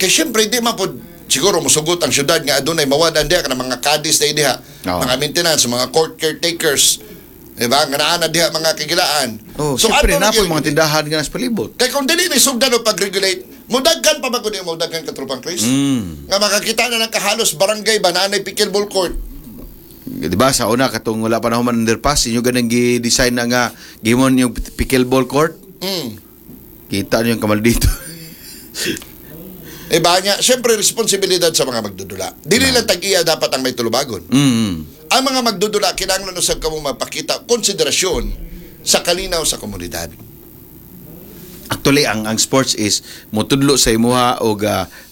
Kay syempre di man pod siguro musugot ang syudad nga adunay mawad-an diha kana mga caddies na diha, mga maintenance, mga court caretakers. Diba? Nga naa na diha mga kagilaan. Oh, siyempre ato na po gyud- mga tindahan nga sa palibot. Kay kung dili ni sugdan o pag-regulate, mudaghan pa ba kun mudaghan ka, Tropang Chris? Nga makakita na lang kahalos barangay ba na anay pickleball court. Di ba sa una katong wala pa na human underpass, inyo ganang gi-design na nga gimon yung pickleball court. Kita niyo yung kamal dito. Iba niya, siyempre responsibilidad sa mga magdudula. Dili lang tag-iya dapat ang may tulubagon. Ang mga magdudula, kinahanglan usab kamo mapakita konsiderasyon sa kalinaw sa komunidad. Actually ang sports is motudlo sa imuha og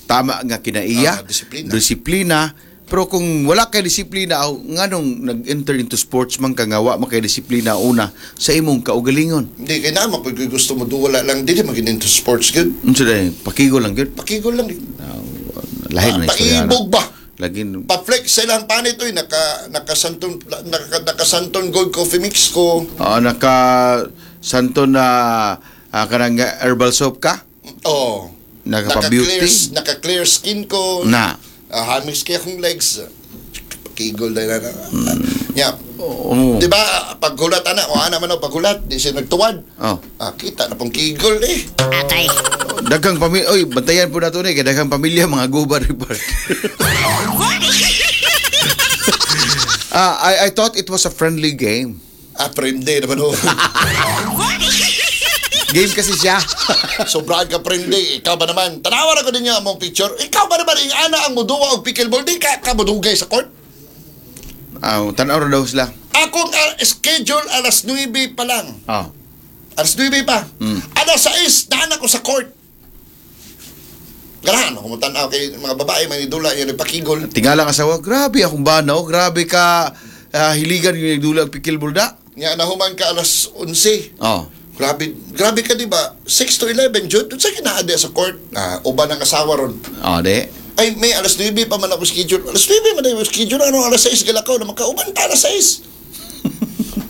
tama nga kinaiya, Ah, disiplina. disiplina. Pero kung wala kay disiplina, aw, nganong nag-enter into sports man ka nga wa man kay disiplina una sa imong kaugalingon? Hindi kay na pag gusto mo duwala lang dili magin into sports gyud. Unsa day pakigol lang gyud. Pakigol lang. Lahi na istorya na. Paibog ba? Lagi Pa-flex sa ilang panit oy, naka santon gold coffee mix ko. Ah, naka santo na kanang herbal soap ka? Oh. Naka-beauty? Naka clear skin ko. Na. Ah, hamix kaya akong legs. Pakigol na na. Yeah. Oo. Di ba, paghulat ana, o ana man o paghulat, di siya nagtuwad. Oh. Ah, kita na pong kigol eh. Daghang pamilya, oy, bantayan po nato ni kay daghang pamilya mga guba report. I thought it was a friendly game. Ah, friendly naman o. Game kasi siya. Sobrang ka friendly. Ikaw ba naman? Tanawan ako ninyo among picture. Ikaw ba naman, ing ana ang muduwa og pickleball, di ka kamudugay sa court? Ah, tanaw ra daw sila. Akong schedule alas 9 pa lang. Oh. Alas 9 pa. Alas 6, daan ako sa court. Ganahan ako mo tanaw kay mga babae may dula yan nagpakigol. Tingala ang asawa, grabe akong banaw, grabe ka hiligan yung nagdula og pickleball da. Nga nahuman ka alas 11. Oh. Grabe, grabe ka, di ba? 6 to 11, Jude. Doon sa kinaade sa court. Ah, uban ang asawa ron. Oh, de. Ay, may alas 9 pa man ako schedule. Alas 9 man ako schedule. Ano, alas 6 galakaw na makauban ta alas 6.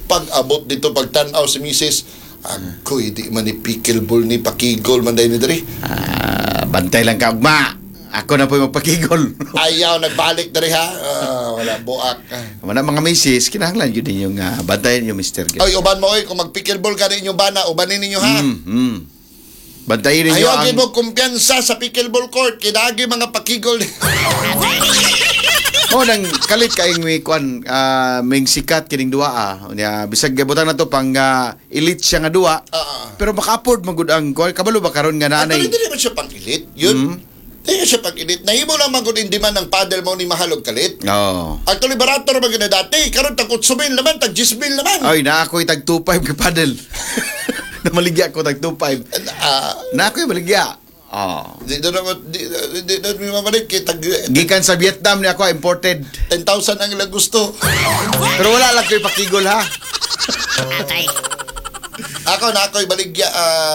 Pag abot dito, pag tanaw si Mrs. Agoy, di man ni pickleball ni pakigol man dahil ni diri. Ah, bantay lang ka ugma. Ako na po yung magpakigol. Ayaw, nagbalik diri ha. Ah, wala, buak. Wala mga misis, kinahanglan yun din yung bantayan yung mister. Gyud. Ay, uban mo oy, kung mag-pickleball ka rin inyong bana, ubanin ninyo ha. Bantayan ninyo Ayaw, ang gid mo kumpiyansa sa pickleball court. Kinagi mga pakigol. Oh, nang kalit kaing may kuan, may sikat kining duwa ah. Unya bisag butang na to pang elite siya nga duwa. Pero maka-afford man gud ang kuan, kabalo ba karon nga Actually, naanay. hindi naman siya pang-elite. Yun. Hindi siya pang-elite. Nahimo lang man kung hindi man ng paddle mo ni mahal og kalit. Oh. Actually, barato naman gina dati. Karon tag 8 mil naman, tag 10 mil naman. Ay, na ako'y tag 2.5 ka paddle. Namaligya ko tag 2.5. Na ako'y maligya. Oh. Di na naman, di na mi mamalit kay tag Gikan sa Vietnam ni ako imported. 10,000 ang ilang gusto. Pero wala lang ko'y pakigol ha. Ako na ako'y baligya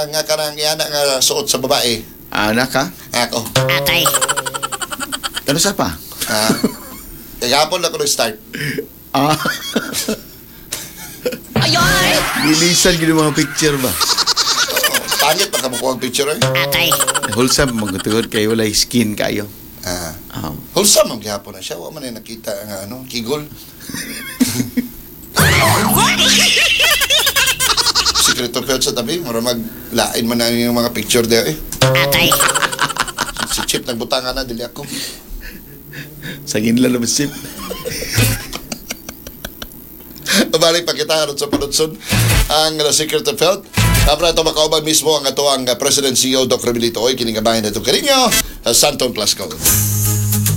nga kanang iyana nga suot sa babae. Anak ka? Ako. Ano sa pa? Kagapon ako nag-start. Ah. Bilisan gid yung mga picture ba? Oo, pangit pa ka makuha ang picture eh. Wholesome magtugod kay walay skin kayo. Ah. Ah. Wholesome ang gihapon na siya. Wa man ay nakita nga ano, kigol. Secret of Health sa tabi, mura maglain man na yung mga picture there eh. Si Chip nagbutangan na, dili ako. Sa ginla na sip. Balik pa kita aron sa panudson ang The Secret of Health. Tapos ito makauban mismo ang ato ang President CEO Doc Remelito Oy kining gabahin nato kaninyo sa Santon Plus Code.